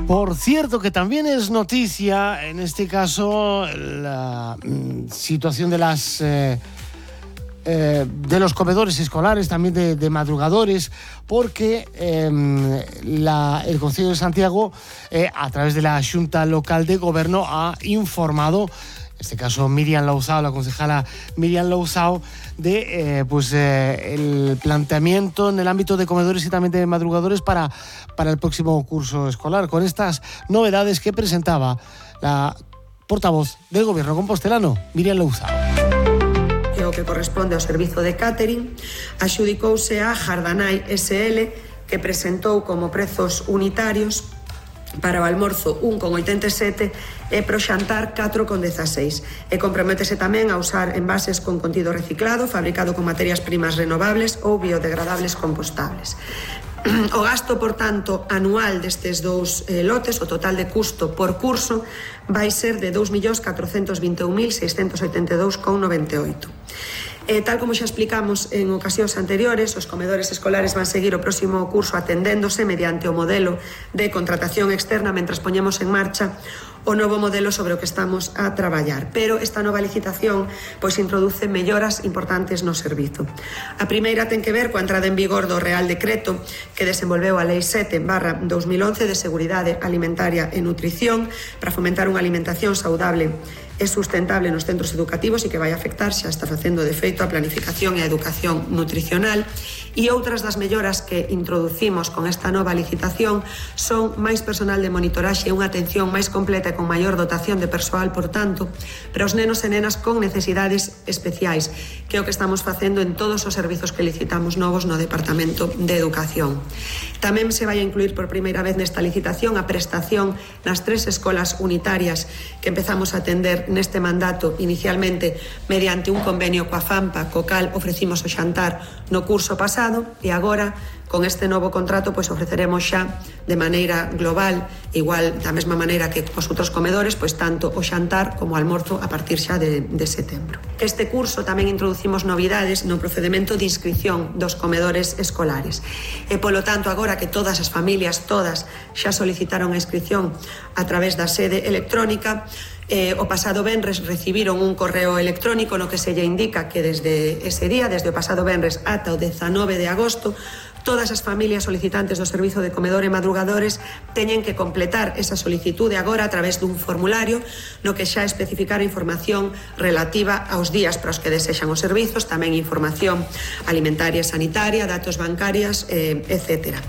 Por cierto, que también es noticia, en este caso, la situación de los comedores escolares, también de madrugadores, porque el Concello de Santiago, a través de la Xunta Local de Goberno, ha informado, en este caso Miriam Louzao, la concejala Miriam Louzao, de el planteamiento en el ámbito de comedores y también de madrugadores para el próximo curso escolar, con estas novedades que presentaba la portavoz del Gobierno compostelano, Miriam Louzao. O que corresponde ao servizo de catering, axudicouse a Jardanai SL, que presentou como prezos unitarios para o almorzo 1,87 e pro xantar 4,16, e comprométese tamén a usar envases con contido reciclado, fabricado con materias primas renovables ou biodegradables compostables. O gasto, por tanto, anual destes dous lotes, o total de custo por curso, vai ser de 2.421.682,98. Tal como xa explicamos en ocasións anteriores, os comedores escolares van seguir o próximo curso atendéndose mediante o modelo de contratación externa mentras poñemos en marcha o novo modelo sobre o que estamos a traballar. Pero esta nova licitación introduce melloras importantes no servizo. A primeira ten que ver coa entrada en vigor do Real Decreto que desenvolveu a Lei 7/2011 de Seguridade Alimentaria e Nutrición para fomentar unha alimentación saudable e sustentable nos centros educativos e que vai afectar, xa está facendo de feito, a planificación e a educación nutricional. E outras das melloras que introducimos con esta nova licitación son máis personal de monitoraxe e unha atención máis completa e con maior dotación de persoal, por tanto, para os nenos e nenas con necesidades especiais, que é o que estamos facendo en todos os servizos que licitamos novos no Departamento de Educación. Tamén se vai a incluir por primeira vez nesta licitación a prestación nas 3 escolas unitarias que empezamos a atender neste mandato, inicialmente mediante un convenio coa FAMPA, co cal ofrecimos o xantar no curso pasado, e agora, con este novo contrato, ofreceremos xa de maneira global, igual da mesma maneira que os outros comedores, tanto o xantar como o almorzo a partir xa de setembro. Este curso tamén introducimos novidades no procedimento de inscripción dos comedores escolares. E, polo tanto, agora que todas as familias, todas, xa solicitaron a inscripción a través da sede electrónica, o pasado venres recibiron un correo electrónico no que se lle indica que desde ese día, desde o pasado venres ata o 19 de agosto, todas as familias solicitantes do servizo de comedor e madrugadores teñen que completar esa solicitude agora a través dun formulario no que xa especificar a información relativa aos días para os que desexan os servizos, tamén información alimentaria e sanitaria, datos bancarias, etcétera.